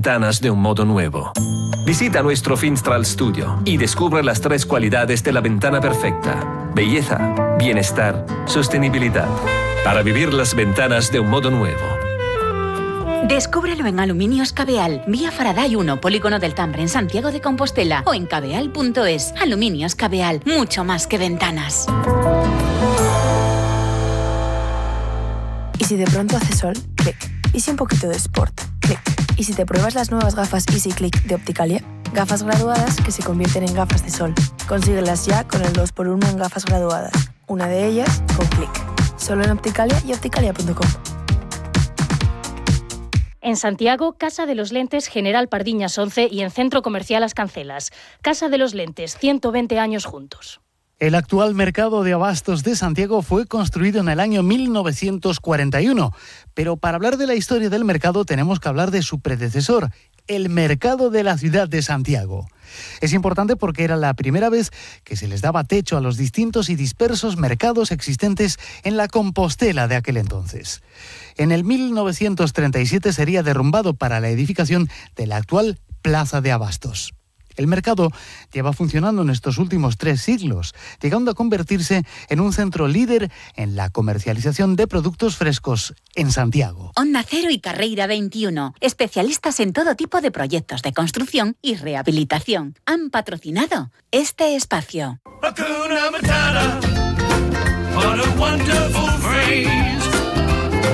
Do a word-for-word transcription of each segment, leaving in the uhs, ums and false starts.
ventanas de un modo nuevo. Visita nuestro Finstral Studio y descubre las tres cualidades de la ventana perfecta: belleza, bienestar, sostenibilidad. Para vivir las ventanas de un modo nuevo. Descúbrelo en Aluminios Cabeal, vía Faraday uno, Polígono del Tambre, en Santiago de Compostela, o en cabeal punto es. Aluminios Cabeal, mucho más que ventanas. ¿Y si de pronto hace sol? Clic. ¿Y si un poquito de sport? Clic. ¿Y si te pruebas las nuevas gafas Easy Click de Opticalia? Gafas graduadas que se convierten en gafas de sol. Consíguelas ya con el dos por uno en gafas graduadas. Una de ellas con Clic. Solo en Opticalia y opticalia punto com. En Santiago, Casa de los Lentes General Pardiñas once y en Centro Comercial As Cancelas. Casa de los Lentes, ciento veinte años juntos. El actual mercado de abastos de Santiago fue construido en el año mil novecientos cuarenta y uno, pero para hablar de la historia del mercado tenemos que hablar de su predecesor, el mercado de la ciudad de Santiago. Es importante porque era la primera vez que se les daba techo a los distintos y dispersos mercados existentes en la Compostela de aquel entonces. En el mil novecientos treinta y siete sería derrumbado para la edificación de la actual Plaza de Abastos. El mercado lleva funcionando en estos últimos tres siglos, llegando a convertirse en un centro líder en la comercialización de productos frescos en Santiago. Onda Cero y Carreira veintiuno, especialistas en todo tipo de proyectos de construcción y rehabilitación, han patrocinado este espacio. Hakuna Matata, what a wonderful phrase.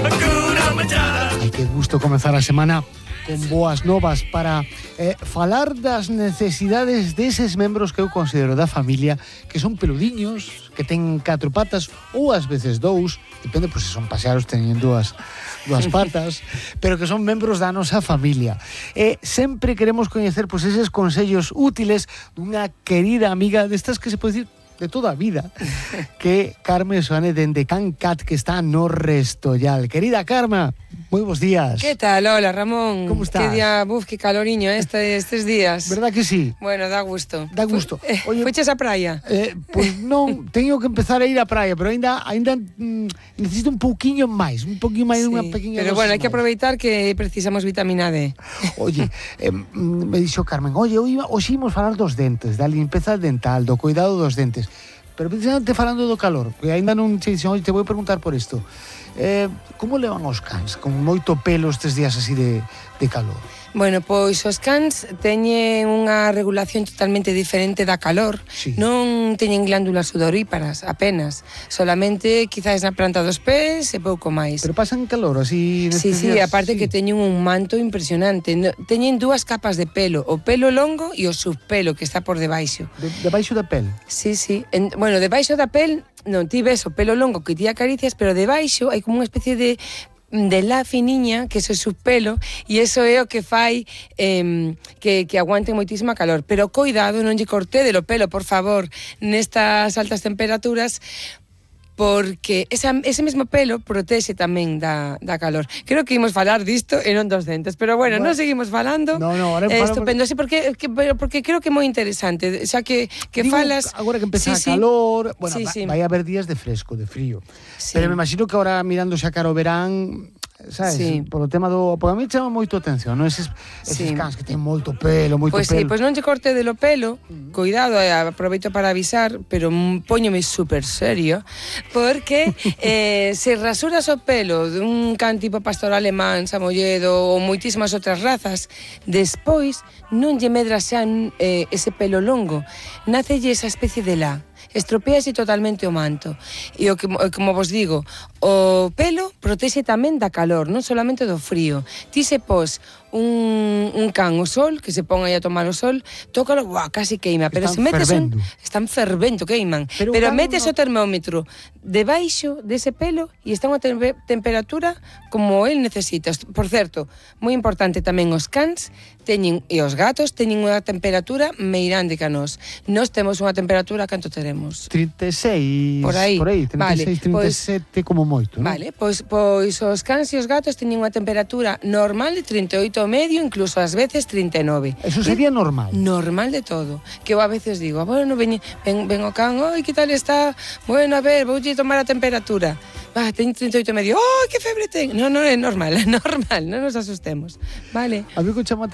Hakuna Matata. Ay, qué gusto comenzar a semana con boas novas para eh, falar das necesidades deses membros que eu considero da familia, que son peludiños, que ten catro patas ou ás veces dous, depende, pois se son pasearos teñen dúas, dúas patas, pero que son membros da nosa familia. E sempre queremos coñecer pois eses consellos útiles dunha querida amiga destas que se pode dicir de toda a vida, que Carme Soane dende Can Cat, que está no Restollal. Querida Carma, moi bons días. Que tal? Hola, Ramón. Como estás? Que día, buf, que caloriño este, estes días. Verdad que sí? Bueno, da gusto. Da gusto. Oye, fuches a praia? Eh, pois pues non, teño que empezar a ir á praia, pero aínda aínda mm, necesito un pouquiño máis, un pouquiño máis, sí, unha pequena. Pero bueno, hai que aproveitar que precisamos vitamina D. Oye, eh, me dixo Carmen, oye, hoxe imos falar dos dentes, da limpeza dental, do cuidado dos dentes. Pero precisamente falando do calor, que aínda non che dixen, oye, te vou preguntar por isto. Eh, como levan os cans con moito pelo estes días así de, de calor? Bueno, pois os cans teñen unha regulación totalmente diferente da calor. Sí. Non teñen glándulas sudoríparas, apenas. Solamente quizás na planta dos pés e pouco máis. Pero pasan calor así Sí, sí, días, aparte sí. que teñen un manto impresionante. Teñen dúas capas de pelo, o pelo longo e o subpelo que está por debaixo. De, debaixo da pel? Sí, sí. En, bueno, debaixo da pel, non, ti ves o pelo longo que ti acaricias, pero debaixo hai como unha especie de de la finiña, que eso é subpelo, e eso é o que fai eh, que, que aguante moitísima calor. Pero coidado, non lle cortede o pelo, por favor, nestas altas temperaturas, porque esa, ese mesmo pelo protexe tamén da, da calor. Creo que imos falar disto e non dos dentes, pero bueno, bueno non seguimos falando. No, no, ahora eh, estupendo, por... sí, porque, que, porque creo que é moi interesante, xa que, que Digo, falas... Agora que empeza sí, a calor, sí. bueno, sí, va, sí. vai haber días de fresco, de frío. Sí. Pero me imagino que ahora mirando xa cara o verán, sabes, sí. por o tema do... Porque a mí chama moito atención, non? Eses, eses sí. cans que ten moito pelo, moito pois pelo. Pois sí, pois non lle corte de lo pelo, cuidado, eh, aproveito para avisar, pero póñome super serio, porque eh, se rasuras o pelo dun can tipo pastor alemán, samolledo ou moitísimas outras razas, despois non lle medra xa eh, ese pelo longo, nacelle esa especie de la. Estropease totalmente o manto. E o que, como vos digo, o pelo protexe tamén da calor, non solamente do frío. Ti se pos un, un can o sol, que se pon aí a tomar o sol, tócalo, buah, casi queima. Pero están se metes fervendo. un... Están fervento, queiman. Pero, pero claro, metes no... o termómetro debaixo dese pelo e está unha te temperatura como el necesita. Por certo, moi importante tamén os cans teñen, e os gatos teñen unha temperatura meirande que a nós. Nós temos unha temperatura canto teremos? trinta e seis, por aí, por aí trinta e seis, vale, trinta e sete pois, como moito, non? Vale, pois, pois os cans e os gatos teñen unha temperatura normal de trinta e oito e medio, incluso ás veces trinta e nove. Eso sería normal? Normal de todo. Que eu a veces digo, bueno, ven, ven, ven o can, oi, que tal está? Bueno, a ver, voulle tomar a temperatura. Va, ten trinta e oito e medio. Oh, que febre ten. Non, non é normal, é normal, non nos asustemos. Vale. A mí que chama